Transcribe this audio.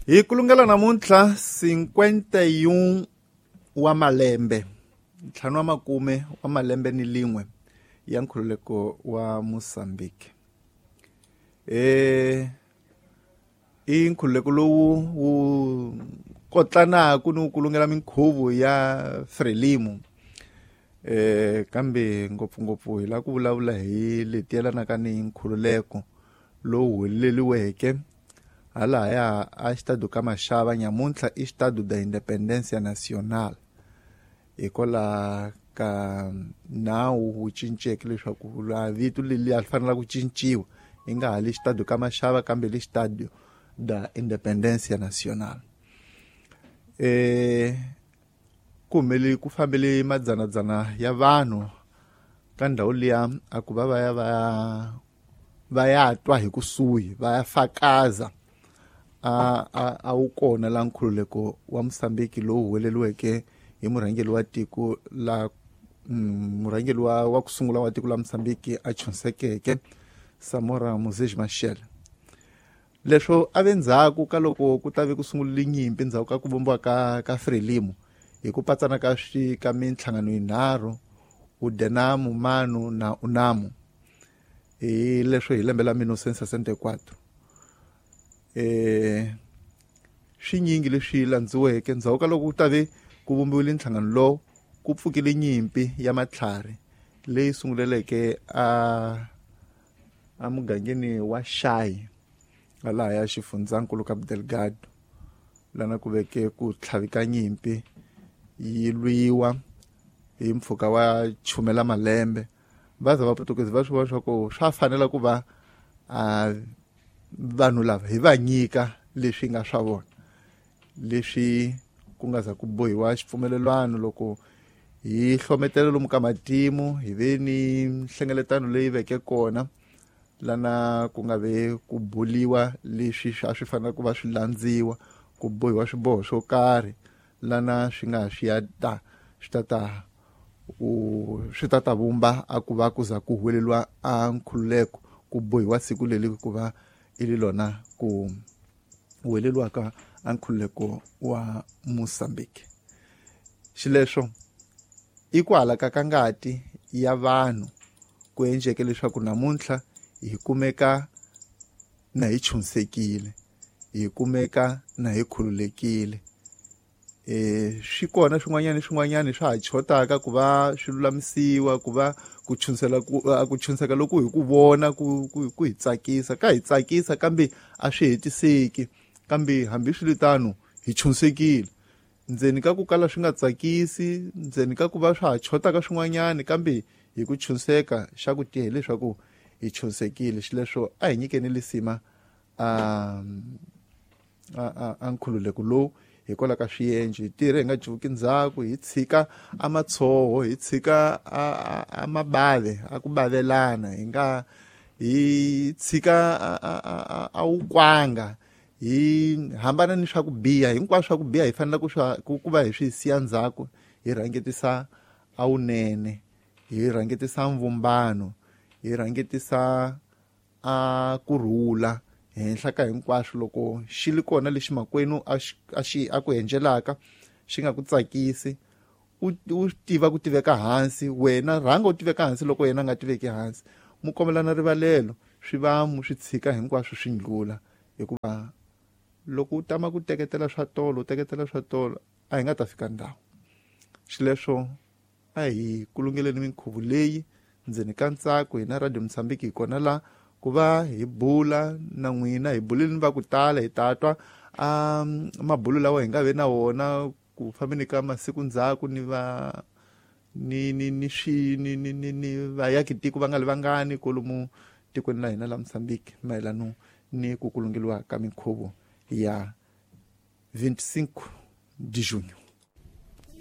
Hi kulungela namuntlha 51 wa malembe, ntlhanu wa makume wa malembe ni lin'we ya nkhululeko wa Mozambique. I nkhululeko lowu wu kotlanaku ni wu kulungela minkhuvo ya Frelimo. Kambe ngopfungopfu hi lava ku vulavula hi leti yelanaka ni nkhululeko lowu huweleliweke halahaya a Xitado ka Mashava nyamuntlha i Xitado da Independência Nacional. Hikwalaho ka nawu wu cinceke leswaku la vito leri a ri fanela ku cinciwa yi nga ha li Xitado ka Mashava kambe li Xitado da Independência Nacional. Ku humele ku fambele madzanadzana ya vanhu ka ndhawu liya a ku va va ya va ya va ya twa hi kusuhi va ya fakaza a wu kona la nkhululeko wa Mozambique lowu huweleliweke hi murhangeri wa tiko la murhangeri wa ku sungula wa tiko la Mozambique a chunsekeke Samora Moses Machel. Leswo a ve ndzhaku ka loko ku ta ve ku sungurile nyimpi ndzhaku ka ku vumbiwa ka Frelimo hi ku patsana ka swi ka minhlangano yinharhu Udenamu, Manu na Unamu. Hi leswo hi lembe la 1964. Swinyingi leswi landziweke ndzhaku ka loko ku ta ve ku vumbiwile nhlangano lowu ku pfukile nyimpi ya matlhari leyi sunguleleke a mugangeni wa Xayi lahaya xifundzankulu Cabo Delgado lana ku veke ku tlhavika nyimpi yi lwiwa hi mpfhuka wa chumela malembe. Va za vaputukezi va swi vona leswaku swa fanela ku va vanhu lava hi va nyika leswi nga swa vona leswi ku nga za ku bohiwa xipfumelelwano loko hi hlometela lomu ka matimu hi ve ni nhlengeletano leyi veke kona lana ku nga ve ku buliwa leswi a swi fanele ku va swi landziwa ku bohiwa swiboho swo karhi lana swi nga swi ya ta swi ta ta swi ta ta vumba a ku va ku za ku huweleliwa a nkhululeko ku bohiwa siku leri ku va i ri lona ku huweleliwaka a nkhululeko wa Mozambique. Xileswo i ku halaka ka ngati ya vanhu ku endleke leswaku namuntlha hi kumeka na hi chunsekile, hi kumeka na hi khululekile. Swi kona swin'wanyana swin'wanyana swa ha chotaka ku va swi lulamisiwa ku va ku chunsela ku chunseka loko hi ku vona ku hi tsakisa ka hi tsakisa kambe a swi hetiseki kambe hambiswiritano hi chunsekile ndzeni ka ku kala swi nga tsakisi ndzeni ka ku va swa ha chotaka swin'wanyana kambe hi ku chunseka xa ku tiya hileswaku hi chunsekile. Xileswo a hi nyikeni lisima a nkhululeko lowu hikwalaho ka swiendlo hi tirhe hi nga cuvuki ndzhaku hi tshika a matshoho hi tshika a mabave a ku bavelana hi nga hi tshika a wukwanga hi hambana ni swa ku biha hinkwaswo swa ku biha hi fanele ku swa ku va hi swi siya ndzhaku hi rhangetisa a wunene hi rhangetisa mvumbano hi rhangetisa a kurhula henhla ka hinkwaswo loko xi li kona lexi makwenu a xi a ku endlelaka xi nga ku tsakisi u tiva ku tiveka hansi wena rhanga u tiveka hansi loko yena a nga tiveki hansi mu kombelana rivalelo swi va mu swi tshika hinkwaswo swi ndlula hikuva loko u tama ku teketela swa tolo u teketela swa tolo a hi nga ta fika ndhawu. Xileswo a hi kulungeleni minkhuvo leyi ndzeni ka ntsako hina Radio Mozambique hi kona la ku va hi bula na n'wina hi buleni va ku tala hi ta twa a mabulo lawa hi nga ve na wona ku fambeni ka masiku ndzhaku ni va ni ni ni swi ni ni ni ni vayaki tiko va nga li vangani kolomu tikweni la hina la Mozambique mayelano ni ku kulungeliwa ka minkhuvo ya 25 de junho.